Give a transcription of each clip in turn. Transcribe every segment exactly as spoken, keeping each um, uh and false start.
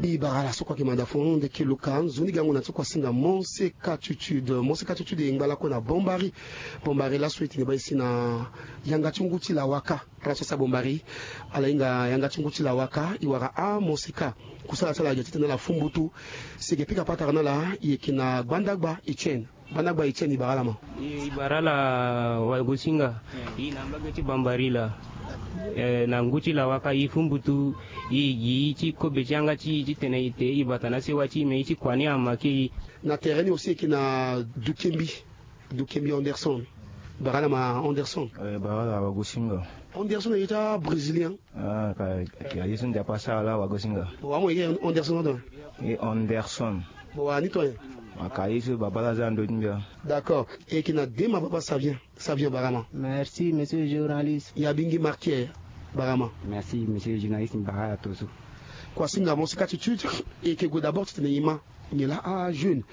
E bara ala so kua ke manda fon nde ke luka nzoni gango na ti kua singa Monseka Tutude. Monseka Tutude e ngba lakue na Bombari. Bombari laso e tene baa e si na yanga ti ngu ti lawaka. Ala so e sa Bombari ala hinga yanga ti ngu ti lawaka e wara amonseka. Kusala ti ala ayeke titene ala fu mbutu. Si e yeke pika patara na ala e yeke na gbandagba Etienne. Gbandagba Etienne e bara ala ma. E bara ala wagosinga. E na mbage ti Bombari laa. Eh, na ngu ti lawaka e fu mbutu. E gi ti kobe ti yanga ti e titene e te e bata na sewa ti e me e ti kua ni ama kei. Na tere ni aussi e yeke na Dukembi. Dukembi Anderson. Bara ala ma Anderson. Eh, bara ala wagosinga. Anderson ayeke ti abrésilien. Ah, ka, ka ye so ndia pa sara la wagosinga. Bon, wa mo ye Anderson ndo. E Anderson. Bon, wa ni to ye. Ma ka ye so babala za ndo ti mbia. D'accord. E yeke na Dema Baba Savien. Savien bara ma. Merci, monsieur le journaliste. Ya bingi marqué bara ma. Merci, monsieur le journaliste, bara ala to so. Kua singa Monseka Tutude, e yeke gue d'abord titene e ma nyen laa ajeune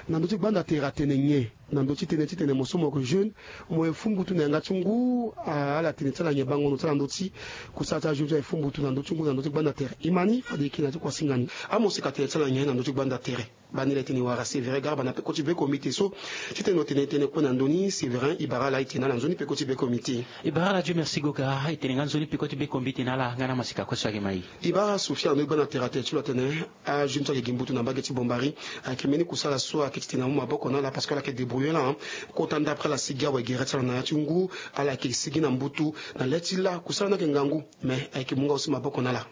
na ndö ti gbanda tere atene nyen. Na ndö ti tënë titene mo so mo yeke jeune, mo ye fu mbutu na yanga ti ngu. Ah, ala tene ti ala nyen bango ndo ti ala ndö ti kusala ti ajeune so aye fu mbutu na ndö ti ngu na ndö ti gbanda tere? E ma ni fade e yeke na ti kua singa ni. Amonseka tene ti ala nyen na ndö ti gbanda tere? Baa ni la e tene e wara Séverin Garba na peko ti be komite so titene lo tene e tene kue na ndö ni. Séverin e bara ala e tene na ala nzoni peko ti be komite. E bara ala Dieu merci goga e tene nga nzoni peko ti be komite na ala nga na maseka kue so ayeke ma e. E bara Sofia na ndö ti gbanda tere atene ti lo atene ajeune so ayeke gi mbutu na mbage ti Bombari ayeke mbeni kusala so ayeke titene amu maboko na ala parce que ala yeke débrouiller laa. Kota ndapre ala sigi awe gere ti ala na ya ti ngu. Ala yeke sigi na mbutu na le ti laa kusala ni ayeke ngangu. Mais ayeke mu nga aussi maboko na ala.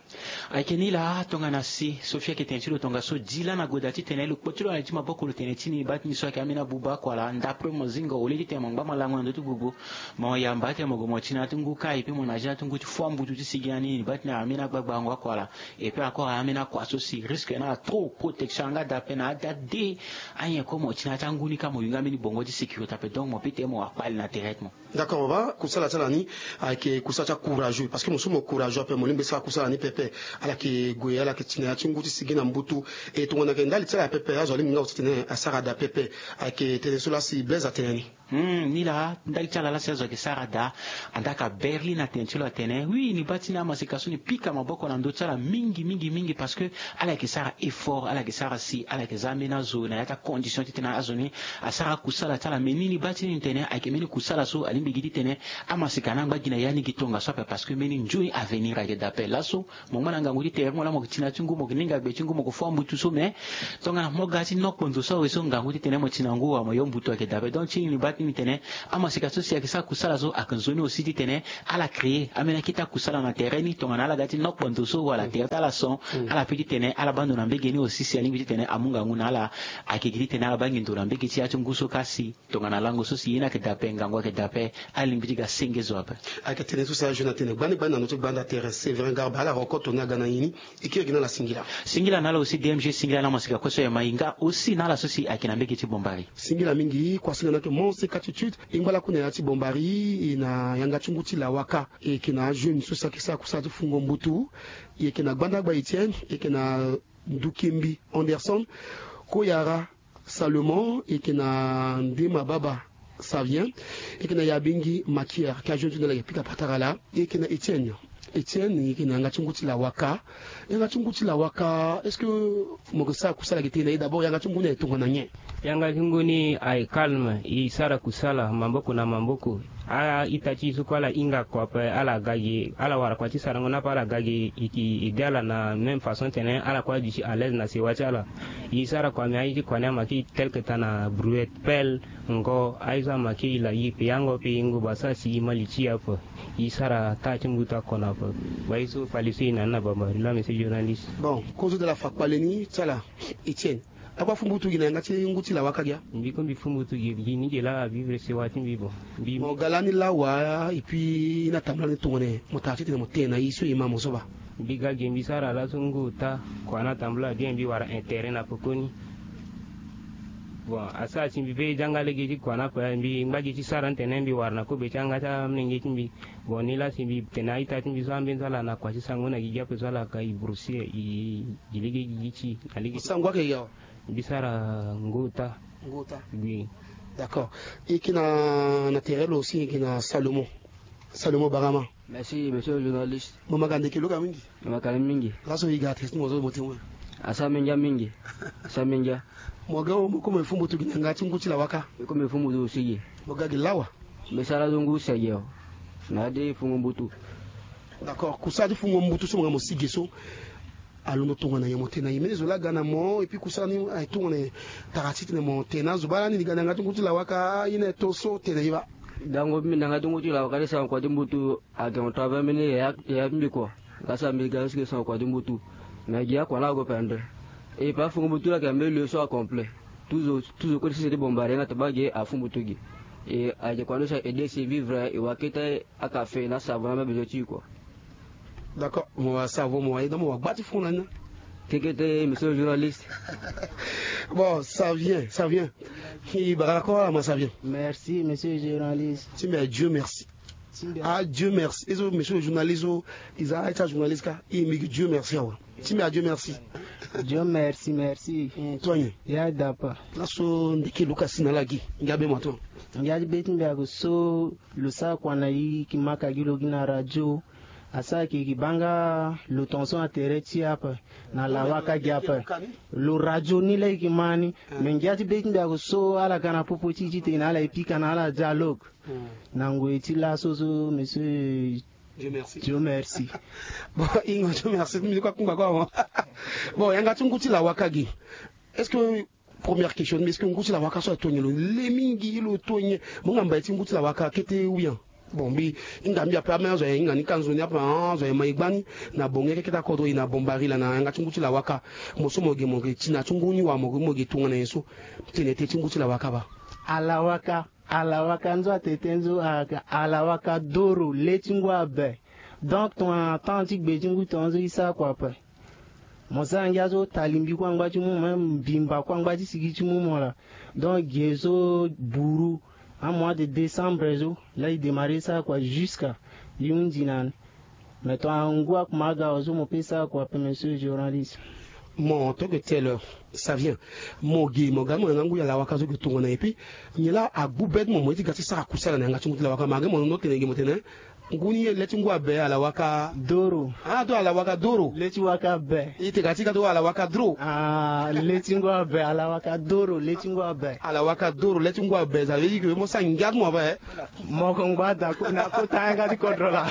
Ayeke ni laa tongana si Sofia ayeke tene ti lo tongaso di laa na goda titene lo kpo ti lo na li ti maboko lo tene ti ni baa ti ni so ayeke ambeni abuba akua laa ndapre mo zingo au lieu titene mo ngba malango na ndö ti gbogbo. Mo yamba titene mo gue mo ti na ya ti ngu kâ et puis mo na ya ti na ya ti ngu ti fo ambutu ti sigi na ni ni baa ti ni ayeke ambeni agbagbango akua laa. Et puis encore ayeke ambeni akua so si risque na ala trop protection yanga daa ape na ada de. Anyen kue mo ti na ya ti angu ni kâ mo yu nga mbeni bongo ti sécurité ape donc mo peut tene mo wara kpale na tere ti mo. D'accord baba, kusala ti ala ni ayeke kusala ti acourageux parce que mo so mo courageux ape mo lingbi sara kusala ni pepe. Ala yeke gue ala yeke ti na ya ti ngu ti sigi na mbutu. E tongana ayeke ndali ti ala pepe azo alingbi nga aussi titene asara daa pepe. Ayeke tënë so laa si Blaise atene ni. Hmm, ni laa ndali ti ala laa si azo ayeke sara daa. Andaa ka Berlin atene ti lo atene oui ni baa ti ni amaseka so ni pika maboko na ndö ti ala mingi mingi mingi parce que ala yeke sara effort, ala yeke sara si ala yeke za ambeni azo na ya ti acondition titene azo ni asara akusala ti ala. Mais ni ni baa ti ni tene ayeke mbeni kusala so alingbi gi titene amaseka ni angba gi na ya ni gi tongaso ape parce que mbeni nzoni avenir ayeke daa ape laso. Mo ngba na ngangu ti tere mo laa mo yeke ti na ya ti ngu mo yeke ninga gbe ti ngu mo yeke fo ambutu so mais tongana mo ga ti nokpo ndo so awe so ngangu titene mo ti na ngu wala mo yo mbutu ayeke daa ape donc ti ni ni baa ti ni tene amaseka so si ayeke sara kusala so ayeke nzoni aussi titene ala créer ambeni akete akusala na tere ni tongana ala ga ti nokpo ndo so wala tere ti ala son. Ala peut titene ala baa ndo na mbege ni aussi si alingbi titene amu ngangu na ala. Ayeke gi titene ala baa ngindu na mbege ti ya ti ngu so kasi tongana lango so si ye ni ayeke daa ape ngangu ayeke daa ape. Alingbi ti ga senge zo ape. Ayeke tënë so si ajeune atene gbani gbani na ndö ti gbanda tere Séverin Garba ala roko toni aga na nyen ni. E kiri gi na ala singila. Singila na ala aussi D M G singila na amaseka kue so e ma e nga aussi na ala so si ayeke na mbege ti Bombari. Singila mingi kua singila na yeke Monseka Tutude. E ngba lakue na ya ti Bombari e na yanga ti ngu ti lawaka. E yeke na ajeune so si ayeke sara kusala ti fungo mbutu. E yeke na gbandagba Etienne e yeke na Ndukembi Anderson. Koyara Salomon e yeke na Ndema Baba Savien. E yeke na Yabingi Makier ka jeune ti na ala yeke pika patara laa. E yeke na Etienne. Etienne e yeke na yanga ti ngu ti lawaka. Yanga ti ngu ti lawaka est-ce que mo yeke sara kusala yeke tene na e d'abord yanga ti ngu ni aye tongana nyen? Yanga ti ngu ni aye calme e sara kusala maboko na maboko. A-ita ti e so kue ala hinga kua ape ala ga gi ala wara kua ti sarango ni ape ala ga gi e ede ala na même façon tene ala kue aduti à l'aise na sewa ti ala. E sara kua me aye ti kua ni ama kiri tel que tana brouette pelle ngo aye so ama kiri la e pe yango pe e ngoba sara si e ma li ti e ape. E sara taa ti mbuta kona ape. Baa ye so kpale so e na ni na bambari la monsieur journaliste. Bon kozo de la fa kpale ni ti ala. Etienne. Akua fu mbutu gi na yanga ti ngu ti lawaka gi a. Mbi kue mbi fu mbutu gi gi ni gi laa avivre sewa ti mbi bon. Mbi mo ga lani lawa et puis e na tambula ni tongana mo tara titene mo tene na e so e ma mo so baa. Mbi ga gi mbi sara laso ngu ota kua na tambula bien mbi wara intérêt na pekoni. Bon asara si mbi pe e janga lege ti kua na kue mbi ngba gi ti sara ni tene mbi wara na kobe ti yanga ti amolenge ti mbi. Bon ni laa si mbi tene a-ita ti mbi so ambeni so ala na kua ti sango na gi gi ape so ala ka e broussier e gi lege gi gi ti e na lege ti sango ayeke gi awa. Mbi sara ngota. Ngota. Oui. D'accord. E yeke na na tere lo aussi e yeke na Salomon. Salomon barama. Merci monsieur le journaliste. Mo ma ga ndeke lo ga mingi. Mo ma ga mingi. Laso e ga tene ti mo so mo tene. Asara mbi ngia mingi. Asara mbi ngia. Mo ga wo mo kue mo ye fu mbutu gi na yanga ti ngu ti lawaka? Mbi kue mo ye fu mbutu si gi. Mo ga gi lawa? Mbi sara zo ngu sege o. Na ya de fungo mbutu. D'accord, kusala ti fungo mbutu so mo ga mo si gi so, alondo tongana nyen? Mo tene na nyen? Mbeni zo laa aga na mo, et puis kusala ni aye tongana nyen? Tara ti tene mo tene na zo baa lani ni ga na yanga ti ngu ti lawaka, ye ni aye to so, tene ye baa. Dango mbi na yanga ti ngu ti lawaka ni, sara kua ti mbutu. Ake mo to ape mbeni yaya ti mbi kua. Laa sara mbi ga so si gi sara kua ti mbutu. Me gi akua ni ague pendere. E pe afungo mbutu laa ake mbeni lieu so acomplet. Tout zo, tout zo kue ti sese ti bombari nga tabaa gi afu mbutu gi. E ake kua ni so aye aide si vivre, e wara kete akafe na savon na mbi besoin ti e kua. D'accord, mo wara savon, mo wara ye, donc mo wara gba ti fon na ni. Kekete, monsieur le journaliste. Bon, ça vient, ça vient. E bara lakue wala ma, ça vient. Merci, monsieur le journaliste. Ti mbi a Dieu merci. Ti mbi a Ah, Dieu merci. E so monsieur le journaliste so, e za aye ti ajournaliste kâ, e mbi gi Dieu merci awe. Ti mbi a Dieu merci. Dieu merci, merci. Mm, to nyen? Ya dapa. Laso ndeke luka si na ala gi, ngia be mo ato. Ngia ti be ti mbi ake so, lo sara kua na e, e ke maka gi lo gi na radio. Asara eke, e ke baa nga lo tongaso na tere ti e ape, na lawaka gi ape. Lo radio ni laa e ke ma ni. Me ngia ti be ti mbi ake so, ala ga na popo ti e titene ala ye pika na ala dialogue. Na ngoi ti laso so, monsieur. Dieu merci. Dieu merci. Bon, ingo Dieu merci, mbi kue akungba kue awa. Bon, yanga ti ngu ti lawaka gi. Est-ce que, première question, mais est-ce que ngu ti lawaka so aye to nyen? Lo le mingi, lo to nyen? Mo hinga mbai ti ngu ti lawaka kete ou bien? Bon, mbi hinga mbi ape, ame azo aye hinga ni ka nzoni ape, ah, azo aye ma e gba ni. Na bonge keke ti akodro, e na bombari laa na yanga ti ngu ti lawaka. Mo so mo ge, mo ge ti na ti ngu ni wa mo ge, mo ge tongana nyen so? Tene te ti ngu ti lawaka baa. Alawaka. Alawaka nzo atete nzo, a- alawaka doro, le ti ngu abe. Donc tongana temps ti gbe ti ngu tongaso e sara kua ape. Mo sara ngia so, talimbi kue angba ti mu mo, même mbimba kue angba ti sigi ti mu mo laa. Donc ge so buru, amois de décembre so laa e démarrer sara kua jusqu'à e hundi na ni. Mais tongana ngu akuma aga awe so, mo pe sara kua ape, monsieur journaliste. Mo to ke tele, ça vient. Mo ge, mo ga mo yanga ngu ya lawaka so ke tongana, et puis nyen laa agbu be ti mo, mo ye ti ga ti sara kusala na yanga ti ngu ti lawaka? Ma ge mo londo tene ge mo tene ngu ni le ti ngu abe, alawaka doro. Ah, to alawaka doro. Le ti waka be. E te ga ti ga to alawaka doro. Ah, le ti ngu abe, alawaka doro, le ti ngu abe. Alawaka doro, le ti ngu abe, ça veut dire que mo sara ngia ti mo ape. Mo ko ngba da ko na kota yanga ti kodro laa.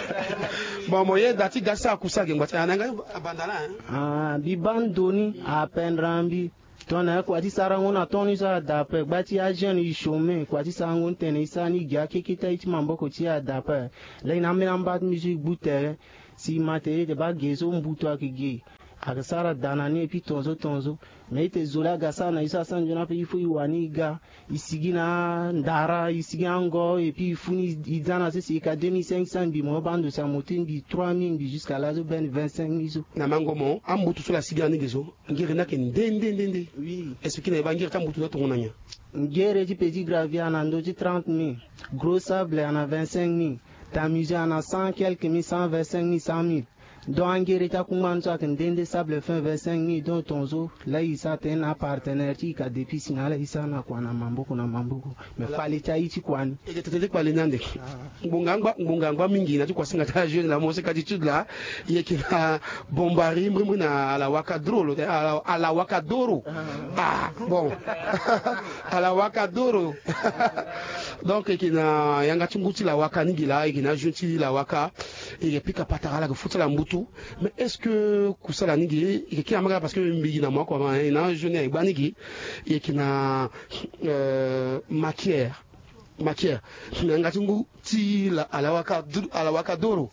Bon, mo ye da ti ga ti sara kusala ge ngba ti ayanga abanda laa, hein? Ah, mbi baa ndo ni apendre na mbi. Tongana kua ti sarango na temps ni so ada ape, gba ti ajeune e chômer, kua ti sarango ni tene e sara ni gi akeketa ye ti maboko ti e ada ape. Laa e na ambeni amba ti mbi so e gbu tere. Si e ma tere, e te baa ge so mbutu ayeke ge. Ayeke sara da na ni, et puis tongaso tongaso. Mais e te zo laa aga sara na e so asara nzoni ape, il faut e wani e ga. E sigi na ndara, e sigi ango, et puis e funi e za na sese, e ka deux mille cinq cents mbi, mo baa ndo si amoto mbi trois mille mbi, jusqu'à laso bene vingt-cinq mille so. Na mango mo, ambutu so laa asigi na ni ge so, ngere ni ayeke nde nde nde nde? Oui. Expliquer na e baa ngere ti ambutu ni atongana nyen? Ngere ti petit gravier ana ndö ti trente mille, gros sable ana vingt-cinq mille, tamusé ana cent quelques mille, cent vingt-cinq mille, cent mille. Donc angere ti akungba ni so ayeke nde nde, sable fin vingt-cinq mille. Donc tongaso laa e sara tënë na apartenaire ti e ka depuis si na ala e sara na kua na maboko na maboko. Mais fale ti aye ti kua ni. E ke tete ti kpale ni ande. Ngbonga angba, ngbonga angba mingi na ti kuasinga ti ajeune laa, mo seka ti étude laa. E yeke na bombari mbrimbri na alawaka doro lo tene, ala- alawaka doro. Ah, bon. Alawaka doro. Donc e yeke na yanga ti ngu ti lawaka ni gi laa, e yeke na ajeune ti lawaka. E yeke pika patara, ala yeke fu ti ala mbutu. Mais est-ce que kusala ni gi e yeke kiri amagala? Parce que mbi gi na mo akua ma e na ajeune aye gba ni gi. E yeke na, euh, makiere. Makiere, na yanga ti ngu ti la- alawaka dr- alawaka doro.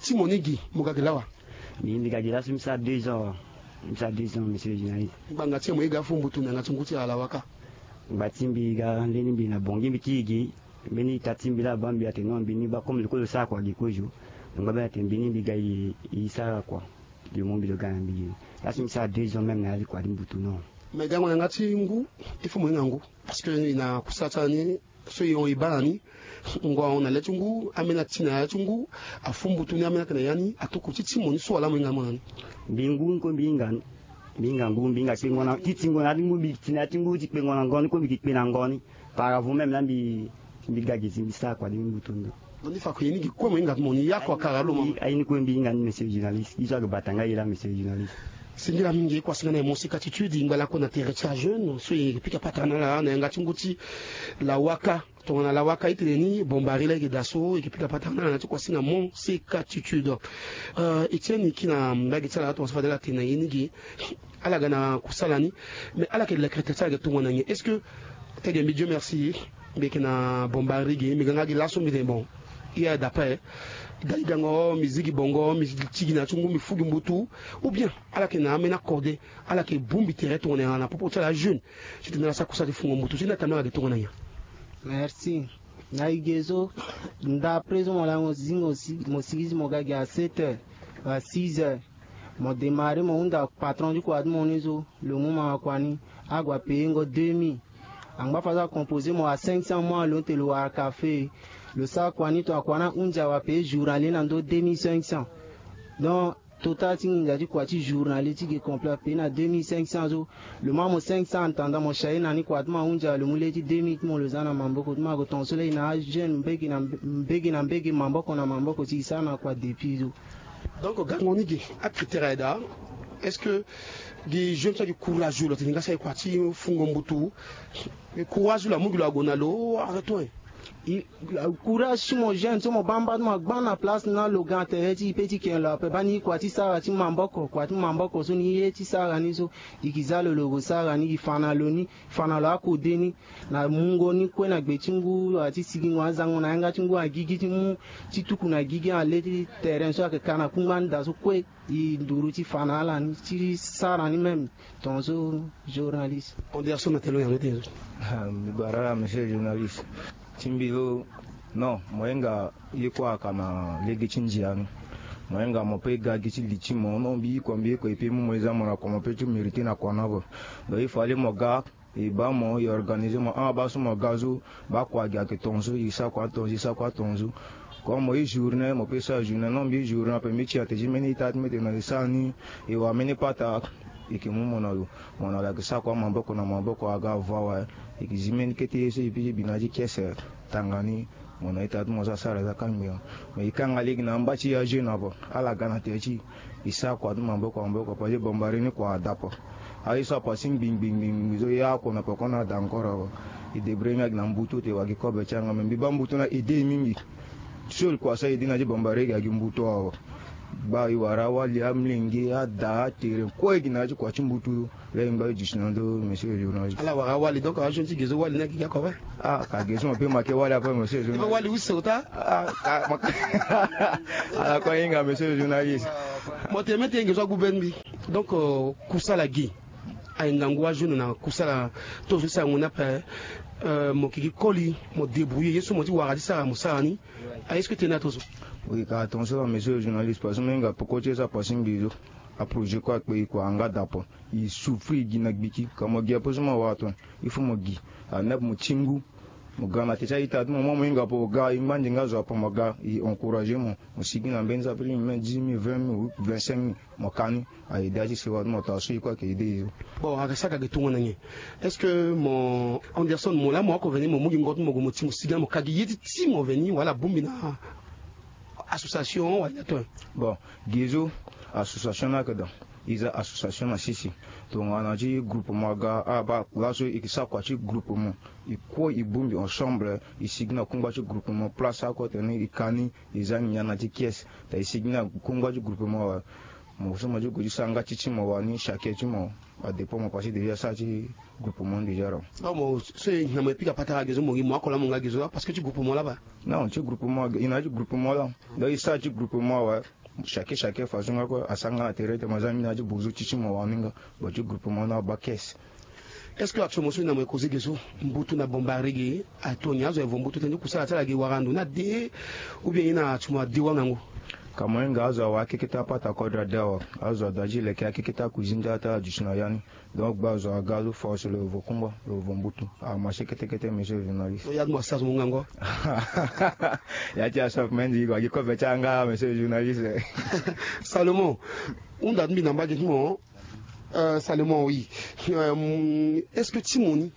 Ti mo ni gi, mo ga gi lawa? Mbi mbi ga gi laso mbi sara deux ans. Mbi sara deux ans, monsieur le journaliste. Ngbanga ti e mo ye ga fu mbutu na yanga ti ngu ti alawaka? Ngba ti mbi ga nde ni mbi na bongi mbi ti e gi. Mbeni ita ti mbi laa abaa mbi atene non, mbi ni baa comme lo kue lo sara kua gi kozo. Ngba mbi atene mbi ni mbi ga e e sara kua. Mbi mo mbi lo ga na mbi gi. Laso mbi sara deux ans même na ya ti kua ti mbutu non. Mais gango na yanga ti ngu, il faut mo hinga ngu. Parce que e na kusala ti ala ni so e hon e baa na ni. Ngu ahon na le ti ngu, ambeni ati na ya ti ngu, afu mbutu ni ambeni ayeke na ya ni, atokua ti ti mo ni so wala mo hinga mo na ni? Mbi ngu ni kue mbi hinga ni. Mbi hinga ngu, mbi hinga kpengo na ti tingo na ya ti ngu, mbi ti na ya ti ngu ti kpengo na ngo ni kue mbi ke kpe na ngo ni. Par avant même laa mbi mbi ga gi si mbi sara kua ti mbutu ndo. Ndo ni fa ko ye ni gi kue mo hinga ti mo ni, ya kua kara lo mo. Aye ni kue mbi hinga ni, monsieur le journaliste. Ye so ayeke bata nga ye laa, monsieur le journaliste. Singila mingi, e kuasinga na e mo seka titudi ngba lakue na tere ti ajeune so e pika patara na ala na yanga ti ngu ti lawaka. Tongana lawaka itene ni bombari la e ke da so e ke pika patara na ala na ti kuasinga mo seka titudi. E ti e ni ki na mbage ti ala tongana so fade ala tene na ye ni ge. Ala ga na kusala ni. Mais ala ke lekere tere ti ala ke tongana nyen? Est-ce que tege mbi dio merci, mbi yeke na bombari ge mbi ga nga gi laso mbi tene bon, i aye dapa e. Dali gango mbi zi gi bongo mbi ti gi na ti ngu mbi fu gi mbutu? Ou bien ala yeke na ameni akode? Ala yeke bongbi tere tongana nyen na popo ti ala ajeune? Titene ala sara kusala ti fungo mbutu ti ni atambe ala yeke tongana nyen? Merci. Na e ge so, ndapre so mo laa mo zi mo si mo sigi si mo ga gi à sept heures, à six heures. Mo demare mo hunda patron ti kua ti mo ni so lo mu ma kua ni. Ague apaye ngo deux mille. Angba fa so acomposer mo à cinq cents mois lo te lo wara kafe. Lo sara kua ni to akua ni ahunzi awe apaye journalier na ndö deux mille cinq cents. Donc total ti nginza ti kua ti journalier ti ge complet apaye na deux mille cinq cents so. Lo ma mo cinq cents en attendant mo chaye na ni kua ti mo ahunzi awe lo mu le ti deux mille ti mo lo za na maboko ti mo ague tonga so laa e na ajeune mbege na mbege na mbege maboko na maboko ti e sara na kua depuis so. Donc gango ni ge acritère aye daa. Est-ce que gi jeune so agi courage lo tene nga sara e kua ti fungo mbutu? Courage lo amu gi lo ague na lo arrêton e. Courage ti mo jeune so mo baa mba ti mo agba na place na lo ga na tere ti e pe ti ken lo ape baa ni kua ti sara ti maboko kua ti maboko so ni ye ti sara ni so. E ke za lo lo gue sara ni e fa na lo ni fa na lo akode ni. Na mungo ni kue na gbe ti ngu ati sigingo azango na yanga ti ngu agigi ti mu ti tuku na gigi ale ti terrain so ayeke ka na kungba ni daa so kue. E nduru ti fa na ala ni ti sara ni même. Tongaso journaliste. Anderson na telo yango ti. Mbi bara ala monsieur journaliste. Ti mbi lo non mo hinga ye kue aka na lege ti ndia ni. Mo hinga mo pe ga gi ti li ti mo non mbi hiko mbi hiko e pe mu mo e za mo na kua mo pe ti mérité na kua na vo. Donc il fallait mo ga. E baa mo e organiser mo ama baa so mo ga so. Baa kua gi ayeke tongaso e sara kua tongaso e sara kua tongaso. Comme mo ye journée mo pe sara journée non mbi ye journée ape mbi ti ate ti mbeni ita ti mbi ete na e sara ni. E wara mbeni pata. E yeke mu mo na lo. Mo na lo ayeke sara kua maboko na maboko aga avo awe. E yeke zi mbeni kete ye so e pe ti bi na ya ti kiese. Tanga ni. Mo na ita ti mo so asara eza kangbi. Mais e kanga lege na amba ti ya jeune ape. Ala ga na tere ti e. E sara kua ti maboko maboko parce que bombari ni kua ada ape. Aye so apassé ngbi ngbi ngbi ngbi so ya oko na peko na ada encore awe. E débrouiller ni agi na mbutu te wagi kobe ti yanga mais mbi baa mbutu ni a aidé e mingi. Seul kua so a aidé na ti bombari gi agi mbutu awe. Gba e wara awali amlenge ada atere kue gi na ya ti kua ti mbutu. Laa e ngba e duti na ndo monsieur le journaliste. Ala wara awali donc ajeune ti ge so wali ni agigi oko ape. Ah ka ge so mo pe make wali ape monsieur le journaliste. Wali use ota. Ah ka mo. Ala kue ahinga monsieur le journaliste. Mo tene mete nge so agu be ni mbi. Donc kusala gi aye ngangu ajeune na kusala. Tongaso ti sara ngu ni ape. Mo kiki koli mo débrouiller ye so mo ti wara ti sara mo sara ni. Aye so kete ni atongaso. Oui ka tongaso la monsieur le journaliste parce que mo hinga peko ti ye so apassé mbi so. Aprojet kue akpe e kua anga dapo. E souffrir e gi na gbiki ka mo gi ape so mo awara tongana il faut mo gi. Anepe mo ti ngu. Mo ga na te ti a-ita ti mo mo mo hinga ape o ga e ngbandi nga zo ape mo ga e encourager mo. Mo sigi na mbeni so ape ti mbi même dix mille vingt mille ou vingt-cinq mille. Mo ka ni. Aye da ti sewa ti mo taa so e kue ayeke aidé e. Bon ayeke sara ka ge tongana nyen? Est-ce que mo Anderson mo laa mo oko veni mo mu gi ngo ti mo gue mo ti mo sigi na mo ka gi ye ti ti mo veni wala abongbi na association wala ato? Bon gi so association ni ayeke daa. E za association na sisi. Tongana ti groupement aga abaa laso e ke sara kua ti groupement. E kue e bongbi ensemble. E sigi na kungba ti groupement place oko tene e ka ni. E za ngia na ti kiese. Ta e sigi na kungba ti groupement awe. Mo so mo ti gue ti sara nga ti ti mo wani chaque ti mo. Adépend mo pasi déjà sara ti groupement déjà ro. Mo so e na mo e pika patara ge so mo gi mo oko laa mo nga ge so laa parce que ti groupement laa baa. Non ti groupement aga e na ya ti groupement laa. Donc e sara ti groupement awe. Chaque chaque façon nga kue asara nga na tere te mo za mbi na ya ti bozo ti ti mo wani nga. Bon ti groupement ni abaa caisse. Est-ce que actuellement so e na mo e causer ge so mbutu na bombari ge? Atoni azo aye vo mbutu tënë ti kusala ti ala ge wara ndo ni ade? Ou bien ye na atimo ade wangango? Ka mo hinga azo awe akekete apata kodro ade awe. Azo ada ti leke akekete akuizini ti ala ti ala duti na ya ni. Donc gba zo aga zo force lo vo kungba lo vo mbutu. Amarché kete kete monsieur journaliste. Ya ti mo asaf mo ngango. Ya ti asaf mendi wagi kobe ti anga monsieur journaliste. Salomon. Hunda ti mbi na mbage ti mo. Salomon oui. Est-ce que ti mo ni?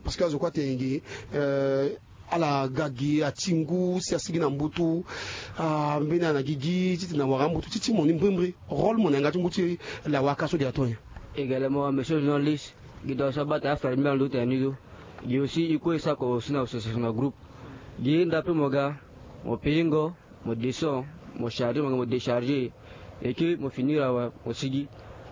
Parce que azo kue atene ge. Ala ga gi ati ngu si asigi na mbutu. Ah, mbeni ala na gigi titene awara mbutu ti ti mo ni mbrimbri. Rôle mo na yanga ti ngu ti lawaka so gi ato nyen? Également monsieur journaliste, gi da so abata afere mbi na ndo tene ni so. Gi aussi i kue sako aussi na association na groupe. Gi nda pe mo ga, mo peingo, mo descend, mo charger, mo ga mo décharger. Eke mo finir awe mo sigi.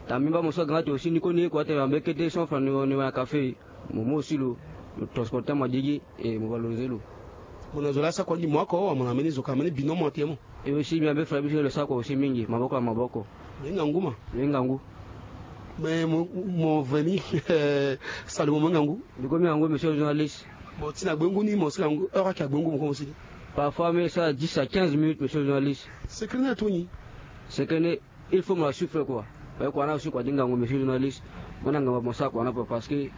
Tambi mba mo so aga nga ti aussi ni koni ye kua tene ambe kete cent francs ni wani wani café. Mo mo aussi lo, lo transporter mo adigi. Et mo valoriser lo. Mo na zo la sako andi mo ako wa mo na mbeni zo ka mbeni bino mo ate mo. Et aussi mbi ambe frère biso lo sako aussi mingi maboko na maboko. Lo hinga ngu ma. Lo hinga ngu. Mais mo mo veni. Salomo mo hinga ngu. Ndiko mi hinga ngu monsieur journaliste. Bon ti na gbengu ni mo sila ngu heure ake agbengu mo ko mo sili. Parfois mais ça dix à quinze minutes monsieur journaliste. Secret na toni. Secret ne. Il faut mo la souffre quoi. Parce que kua na aussi kua ti ngangu monsieur journaliste. Mo na ngangu mo sa kua na po parce que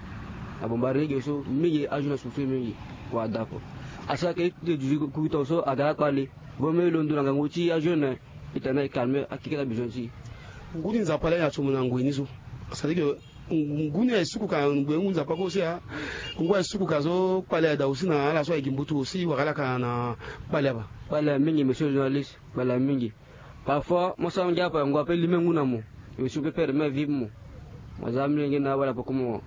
na bombari ni ge so mingi ajour na souffrir mingi. Kua da po asa ke ite duzi kukuta so aga akpale. Bo me londo na ngangu ti ajour na ita na ekalme akeke na besoin ti. Ngu ni nzapa la ya ti mo na ngoi ni so. C'est à dire que ngu ni aye suku ka ngbe ngu nzapa ko si a. Ngu aye suku ka so kpale ada aussi na ala so aye gi mbutu aussi wara ala ka na kpale aba. Kpale mingi monsieur journaliste. Kpale mingi. Parfois mo sara ngia ape ngua pe lime ngu na mo. Yo si pe pere me vive mo. Mo za mlenge na wala poko mo.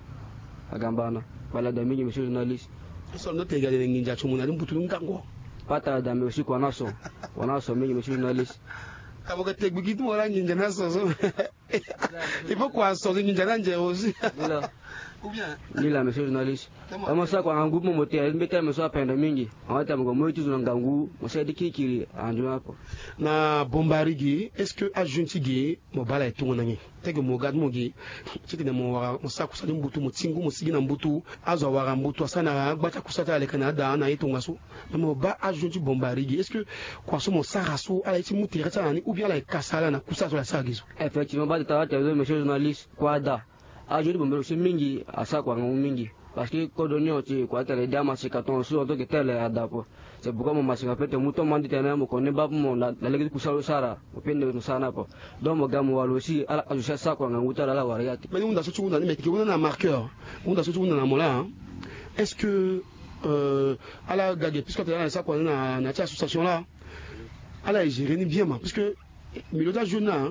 Agamba na wala da mingi monsieur journaliste. So ndo te gade na nginja ti mo na ti mbutu ngango. Pata da me aussi kua na so. Kua na so mingi monsieur journaliste. Ka mo ka te gbigi ti mo wala nginja na so so. Il faut kua so nginja na nje aussi. Ou bien. Ni la monsieur journaliste. Mo sara kua ngangu mo mo te mbeta mo so apenda mingi. Awata mo ko mo iti zo na ngangu mo sara ti kirikiri andu na po. Na bombari gi est-ce que ajeune ti gi mo baa ala e tongo na nyen? Teke mo ga ti mo gi titene mo wara mo sara kusa ti mbutu mo ti ngu mo sigi na mbutu. Azo awara mbutu asara na agba ti akusa ti ala leke na ada na aye tongaso. Mais mo baa ajeune ti bombari gi est-ce que kua so mo sara so ala ye ti mu tere ti ala na ni ou bien ala e kasa ala na kusa so ala sara gi so? Effectivement baa tata wata zo monsieur journaliste. Kua da. Ajeune ti bombari aussi mingi asara kua ngangu mingi. Parce que kodro ni on ti kua tene dia masika ton so en tant que tel ada po. C'est pourquoi mo masika pe te mu ton mandi tene mo koni baa pe mo na lege ti kusa lo sara mo pe nde mo sara na po. Donc mo ga mo wala aussi ala azo si asara kua ngangu ti ala ala wara ya te. Mbeni hunda so ti hunda ni me ke hunda na marqueur. Hunda so ti hunda na mo la. Est-ce que ala ga ge puisque atene ala sara kua ni na ti association la. Ala e gérer ni bien ma puisque milieu ti ajeune na.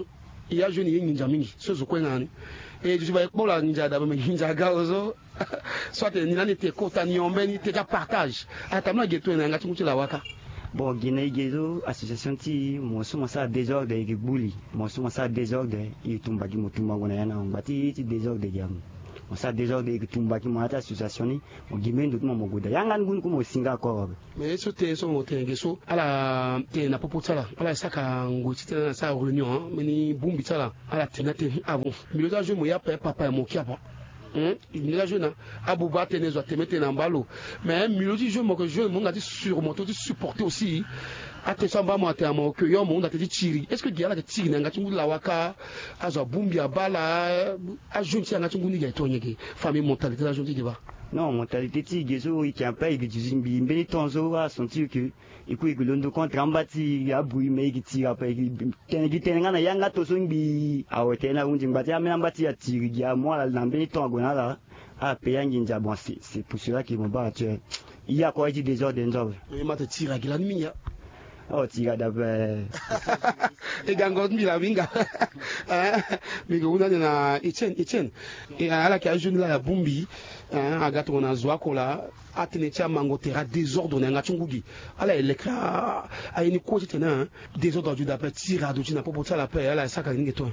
E ajeune ye nginja mingi so zo kue na ni. E duti ba e kpo la nginja adabo me nginja aga ozo. So atene ni lani e te kota ni yo mbeni te ti apartage. Atambula ge to e na yanga ti ngu ti lawaka. Bon gi na e ge so association ti mo so mo sara désordre e ke gbu li. Mo so mo sara désordre e ke tumba gi mo tumbango na ya na ngba ti ti désordre gi amu. Mo sara désordre e ke tumba gi mo na ya ti association ni. Mo gi mbeni ndo ti mo mo goda yanga ni ngu ni kue mo singa akoro. Mais ye so tene so mo tene ge so ala tene na popo ti ala ala saka ngoi ti tene ala sara réunion mbeni bongbi ti ala. Ala tene na tene avant milieu ti ajeune mo ya ape papa ya mo kia apa. Milieu ti ajeune abuba atene zo atene mbi tene na mba lo. Mais milieu ti jeune mo ke jeune mo hunda ti surmonter ti supporter aussi. Atene so amba mo atene na mo ke yo mo hunda tene ti tiri est-ce que gi ala ke tiri na yanga ti ngu ti lawaka? Azo abongbi abaa ala. Ajeune ti yanga ti ngu ni gi aye to nyen ge? Famille mentalité ti ajeune ti ge baa. Non mentalité ti ge so e ke ape e ke duzi mbi mbeni temps so asentir ke e kue e ke londo contre amba ti abui mais e ke tiri ape e ke tene gi tene nga na yanga to so ngbii awe tene na hundi ngba ti ambeni amba ti atiri gi amu ala na mbeni temps ague na ala. Ape ya nginza bon c'est pour cela ke mo baa actuel. E ya kue ti désordre nzo awe. E ma te tiri agi lani mingi a. Oh tiri adape. E gango ti mbi la mingi a. Mbi ke hunda ni na Etienne Etienne. Ala ke ajeune la ya bongbi. Aga tongana zo oko la. Atene ti amango tere adésordre na yanga ti ngu gi. Ala e leke aye ni kue titene désordre adu daa ape tiri adu ti na popo ti ala ape ala e saka gi ni ge to.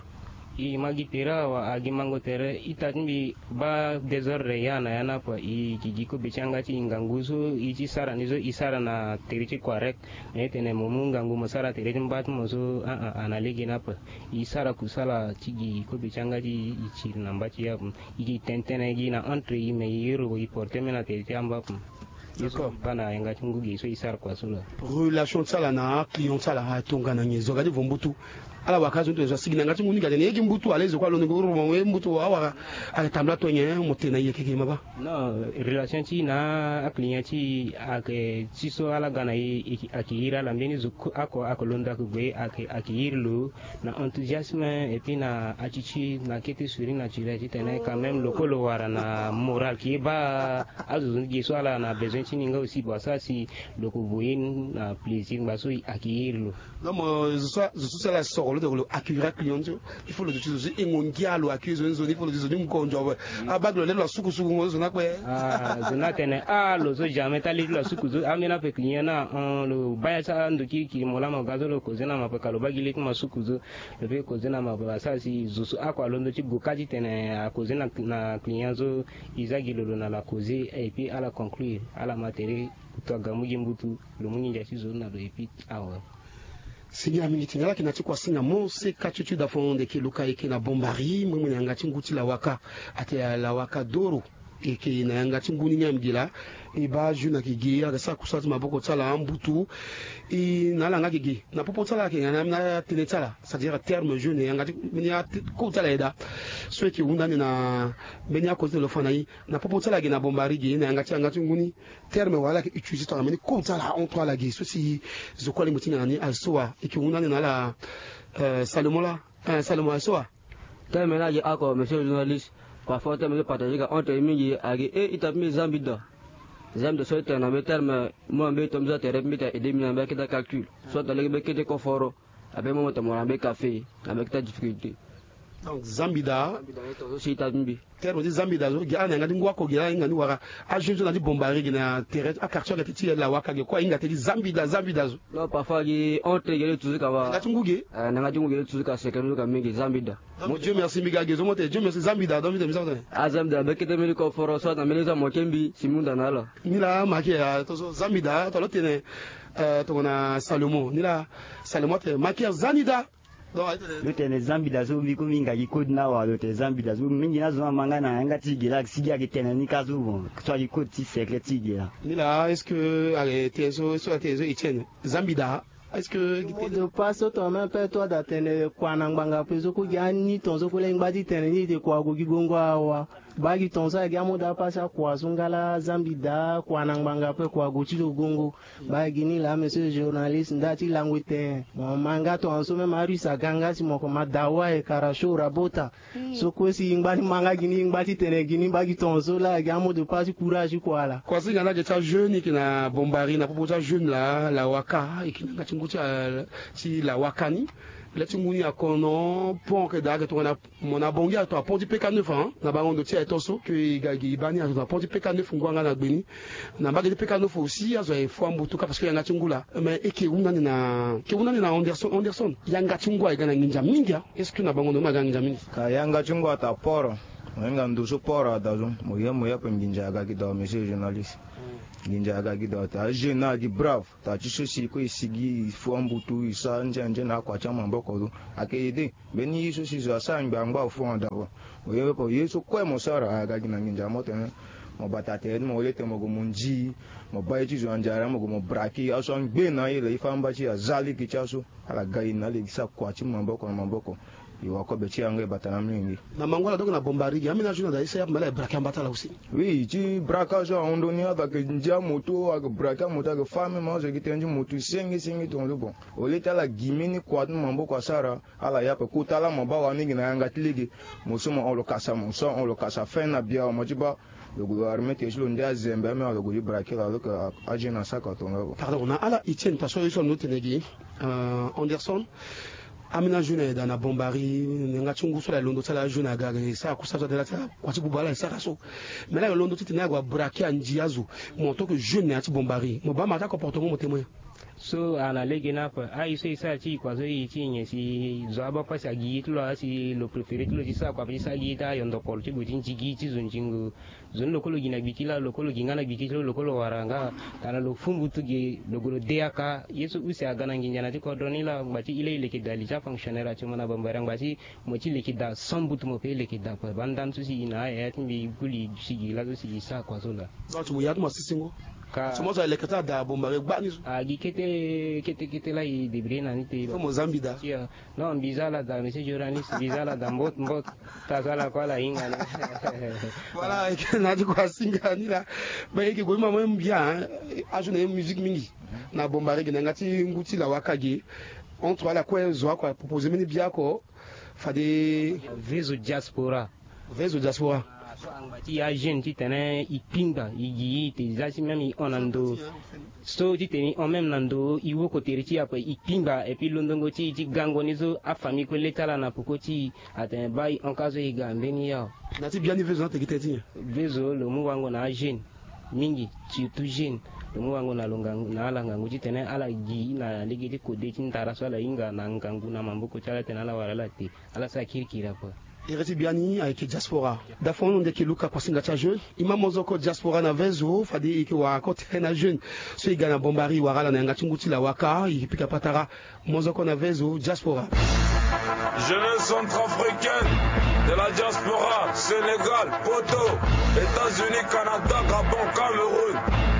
E ma gi tere awa agi mango tere ita ti mbi baa désordre ya na ya ni ape. E gi gi kobe ti yanga ti e ngangu so e ti sara ni so e sara na tere ti correct. Na e tene mo mu ngangu mo sara tere ti mba ti mo so aa ana lege ni ape. E sara kusala ti gi kobe ti yanga ti e tiri na mba ti e ape. E gi tene tënë gi na entre e me e iri e porte mbeni na tere ti amba ape. D'accord. Baa na yanga ti ngu gi so e sara kua so la. Relation ti ala na aclient ti ala atongana nyen zo aga ti vo mbutu? Ala waka azo ni tongana zo asigi na yanga ti ngu ni ga tene ye gi mbutu ala ye zo kue alondo ngu ro mo ye mbutu awara. Ayeke tambula tongana mo tene na yeke gi maba. Non, relation ti na aclient ti ayeke ti so ala ga na e. Ayeke iri ala mbeni zo oko ayeke londo ayeke gue ayeke iri lo na enthousiasme et puis na attitude na kete souris naturel titene quand même lo kue lo wara na moral ki ye baa azo zo ni gi so ala na besoin ti ni nga aussi bon asara si lo ko voye ni na plaisir ngba so ayeke iri lo. Donc zo so ala soro lo tene lo accueillir aclient ti lo. Il faut lo zo ti zo so e ngongia lo accueillir zo ni zo ni il faut lo zo ni ngonzo awe. Abagi lo lê lo asukusuku ngo zo na kue. Zo na tene ah lo so jamais ta lê ti lo asukuzo amena pe client na lo baya ti ando kirikiri mo lama ga so lo koze na ma pe ka lo bagi lê ti ma sukuzo. Lo pe koze na ma pe asara si zo so ako alondo ti goka titene akoze na client so. Iza gi lo lo na la koze et puis ala conclure ala ma tere. Kutu aga mu gi mbutu lo mu nginza ti zo na lo et puis awe. Singia mingi ti nga ala yeke na ti kua singa mo se ka ti ti dafon de ke luka eke na bombari mui mui na yanga ti ngu ti lawaka. Ate lawaka doro eke na yanga ti ngu ni ni ami gi laa. E baa jeune ayeke gi ala yeke sara kusala ti maboko ti ala ambutu. E na ala nga gigi na popo ti ala ayeke nga na atene ti ala c'est à dire terme jeune yanga ti mbeni akode ti ala ayeda. So eke hunda ni na mbeni akode ti lo fa na ye na popo ti ala gi na bombari gi na yanga ti yanga ti ngu ni. Terme wala ala yeke utiliser tongana mbeni kode ti ala entre ala gi so si zo kue alingbi ti ngia na ni aye so wa eke hunda ni na ala. Salomon la. Salomon aye so wa. Terme ni agi ako monsieur journaliste. Parfois terme so partage ga entre mingi agi e ita mbi zambida. Zambida so itene na mbi terme mo na mbi to mbi so atere mbi ta aide mbi na mbi akita calcul so ata lege mbi kete koforo. Abe mo mo ta mo na mbi kafe na mbi akita difficulté. Donc zambida. Zambida ni tonso si ita mbi. Terme ti zambida zo gi ala na yanga ti ngu ako gi ala hinga ni wara. Ajeune so na ti bombari gi na tere ti akartier aga ti ti lawaka gi kue ahinga te ti zambida zambida zo. Non parfois gi honte gi le tuzu kaba. Na yanga ti ngu gi. Na yanga ti ngu gi le tuzu ka secret zo ka mingi zambida. Mo dieu merci mbi ga gi zo mo te dieu merci zambida donc mbi te mbi sa mo te. Ah zambida mbi kete mbi ni koforo so na mbi ni so amoke mbi si mbi hunda na ala. Ni laa ma ke ya tonso zambida tongana lo tene. Tongana salomon ni laa. Salomon atene ma ke ya zani daa. Lo tene zambida so mbi ku mbi hinga gi kode ni awa lo tene zambida so mingi ni azo ni ama nga na yanga ti gi laa sigi ayeke tene ni ka so bon so agi kode ti secret ti gi laa. Ni laa est-ce que ayeke tene so so ayeke tene so etienne zambida. Est-ce que mot de passe so tongana même pe to ada tene kua na ngbanga pe so ku gi ani tonso ku lengba ti tene ni te kua ago gi gongo awa. Baa gi tonso ayeke gi amot de passe akua so nga laa zambida kua na ngbanga pe kua ago ti lo gongo. Baa gi ni laa monsieur journaliste nda ti lango ete mo ma nga tongaso même arus aga nga si mo ko ma dawa e kara sho rabota. So kue si ngba ni ma nga gi ni ngba ti tene gi ni baa gi tongaso laa gi amot de passe ti courage ti kua laa. Kua si nga laa gi ti ajeune eke na bombari na popo ti ajeune laa lawaka eke na nga ti ngu ti lawaka ni. Lê ti ngu ni akono pont eke daa ake tongana. Mo na bongi ato apont ti peka neuf ans na bango ndo ti aye to so ke e ga gi e baa ni azo na pont ti peka neuf ngu anga na gbe ni. Na mbage ti peka neuf aussi azo aye fo ambutu ka parce que yanga ti ngu laa. Mais eke hunda ni na eke hunda ni na anderson anderson yanga ti ngu aye ga na nginza mingi a? Est-ce que na bango ndo ni ma ga na nginza mingi? Ka yanga ti ngu ata poro. Mo hinga ndo so poro ada zo mo ye mo ye ape nginza aga gi dao monsieur journaliste. Nginza aga gi dao ata ajeune na agi brave. Taa ti so si kue e sigi e fu ambutu e sara nze anze na akua ti amaboko zo. Ayeke aide mbeni ye so si zo asara ngbe angba afu anda awe. Mo ye pepe ye so kue mo sara aga gi na nginza mo tene. Mo bata tere ti mo wele tene mo gue mo nzi mo baa ye ti zo na nzara mo gue mo braki aso angbe na aye la e fa amba ti aza lege ti aso. Ala ga e na lege sara kua ti maboko na maboko. E wa kobe ti yanga e bata na amolenge. Na mango ala donc na bombari gi ambeni azo na daa e sara ya me ala e braki ambata ala aussi. Oui ti braka so ahon ndoni ala yeke ndia moto ayeke braki amoto ayeke fa même azo yeke tënë ti moto senge senge tongaso bon. Au lieu ti ala gi mbeni kua ti maboko asara ala ya ape kota laa mo baa wani gi na yanga ti lege. Mo so mo hon lo kasa mo so ahon lo kasa fin na bia mo ti baa. Lo gue lo armé tere ti lo nde azembe ame lo gue ti braki la lo yeke ajeune asaka tongaso bon. Pardon na ala etienne parce que ye so alondo tene gi. Anderson. Ambeni ajeune aye daa na bombari na yanga ti ngu so ala ye londo ti ala ajeune aga aga e sara kusa so atene laa ti ala kua ti buba ala e sara so. Mais laa aye londo titene ague abraki anzi azo. Mo en tant que jeune na ya ti bombari mo baa ma ti acomportement mo témoin. So ana lege ni ape aye so e sara ti e kua so e ti e nyen si zo abaa pasi agi ye ti lo asi lo préféré ti lo ti sara kua ape ti sara gi ye ti ayondo polo ti gue ti nzi gi ye ti zo nzingo. Zo ni lo kue lo gi na gbi ti laa lo kue lo gi nga na gbi ti lo lo kue lo wara nga. Tana lo fu mbutu ge lo gue lo de aka ye so use aga na nginza na ti kodro ni laa ngba ti ile e leke daa li ti afonctionnaire ati mo na bambara ngba ti mo ti leke daa sans mbutu mo pe e leke daa kue baa ndani so si e na ayaya ti mbi e gu li si gi laso si e sara kua so laa. Donc mo ya ti mo asisingo. Ka so mo so aleke ti ada Bombari gbani so. Agi kete kete kete la i débrouiller na ni te. Mo zambi da. Non, mbi za ala da monsieur journaliste, mbi za ala da mbot mbot. Tazo ala kue ala hinga ni. Voilà, na ti kua singa ni la. Mais eke gue mama mbia, hein. Azo na ye musique mingi na Bombari ge na yanga ti ngu ti lawa ka ge. Entre ala kue zo oko aproposer mbeni bia oko. Fade Vezo diaspora. Vezo diaspora. So angba ti ya jeune titene i kpingba i gi i te za ti même i hon na ndo. So titene i hon même na ndo i woko tere ti i ape i kpingba et puis londongo ti i ti gango ni so afamille kue le ti ala na poko ti i. Atene baa i hon ka so i ga mbeni ya. Na ti biani Vezo na teke tënë ti nyen? Vezo lo mu wango na ajeune mingi, surtout jeune. Lo mu wango na lo ngangu na ala ngangu titene ala gi na lege ti kode ti ndara so ala hinga na ngangu na maboko ti ala titene ala wara ala te. Ala sara kirikiri ape. Ere ti biani ayeke diaspora. Dafon nde yeke luka kuasinga ti ajeune. I ma mozoko diaspora na Vezo fade i yeke wara ko tene na jeune so i ga na Bombari i wara ala na yanga ti ngu ti lawa ka i yeke pika patara. Mozoko na Vezo diaspora. Jeunesse centrafricaine de la diaspora, Sénégal, Poto, États-Unis, Canada, Gabon, Cameroun.